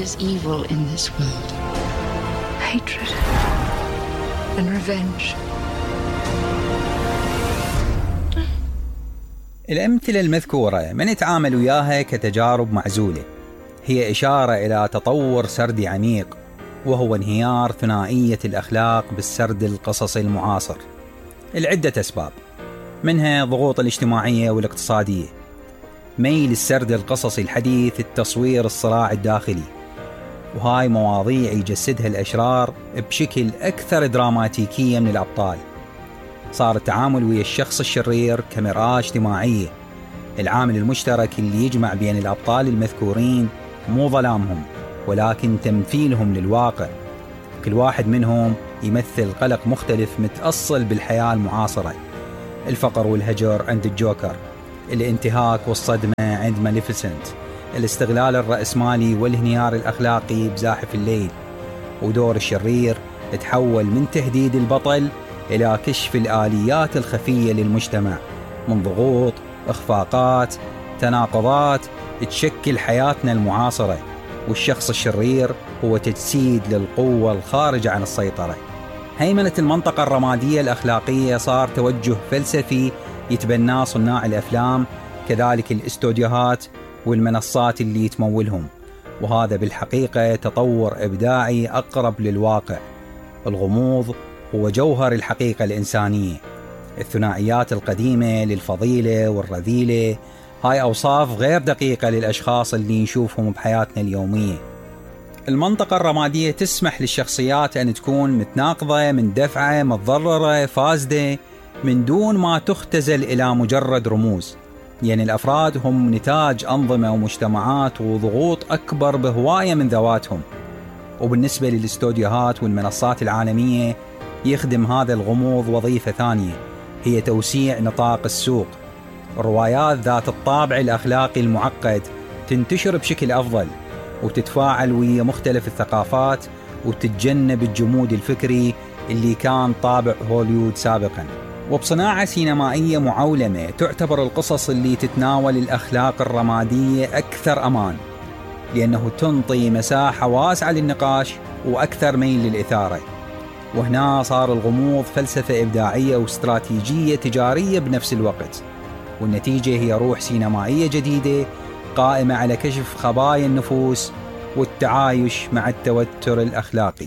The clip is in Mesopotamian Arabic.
is evil in this world. Hatred and revenge. الأمثلة المذكورة من يتعامل وياها كتجارب معزولة هي إشارة إلى تطور سردي عميق، وهو انهيار ثنائية الأخلاق بالسرد القصصي المعاصر لعدة أسباب، منها الضغوط الاجتماعية والاقتصادية، ميل السرد القصصي الحديث التصوير الصراع الداخلي، وهاي مواضيع يجسدها الأشرار بشكل أكثر دراماتيكية من الأبطال. صار التعامل ويا الشخص الشرير كمرآة اجتماعية، العامل المشترك اللي يجمع بين الأبطال المذكورين مو ظلامهم ولكن تمثيلهم للواقع، كل واحد منهم يمثل قلق مختلف متأصل بالحياة المعاصرة. الفقر والهجر عند الجوكر، الانتهاك والصدمة عند ماليفيسنت، الاستغلال الرأسمالي والانهيار الأخلاقي بزاحف الليل، ودور الشرير تحول من تهديد البطل إلى كشف الآليات الخفية للمجتمع من ضغوط، إخفاقات، تناقضات تشكل حياتنا المعاصرة، والشخص الشرير هو تجسيد للقوة الخارجة عن السيطرة. هيمنة المنطقة الرمادية الأخلاقية صار توجه فلسفي يتبناه صناع الأفلام، كذلك الاستوديوهات والمنصات اللي يتمولهم، وهذا بالحقيقة تطور إبداعي أقرب للواقع. الغموض هو جوهر الحقيقة الإنسانية. الثنائيات القديمة للفضيلة والرذيلة هاي أوصاف غير دقيقة للأشخاص اللي نشوفهم بحياتنا اليومية. المنطقة الرمادية تسمح للشخصيات أن تكون متناقضة، من دفعة، متضررة، فاسدة، من دون ما تختزل إلى مجرد رموز. يعني الأفراد هم نتاج أنظمة ومجتمعات وضغوط أكبر بهواية من ذواتهم. وبالنسبة للاستوديوهات والمنصات العالمية يخدم هذا الغموض وظيفة ثانية، هي توسيع نطاق السوق. الروايات ذات الطابع الأخلاقي المعقد تنتشر بشكل أفضل وتتفاعل ويا مختلف الثقافات وتتجنب الجمود الفكري اللي كان طابع هوليوود سابقا. وبصناعة سينمائية معولمة تعتبر القصص اللي تتناول الأخلاق الرمادية أكثر أمان، لأنه تنطي مساحة واسعة للنقاش وأكثر ميل للإثارة. وهنا صار الغموض فلسفة إبداعية واستراتيجية تجارية بنفس الوقت، والنتيجة هي روح سينمائية جديدة قائمة على كشف خبايا النفوس والتعايش مع التوتر الأخلاقي.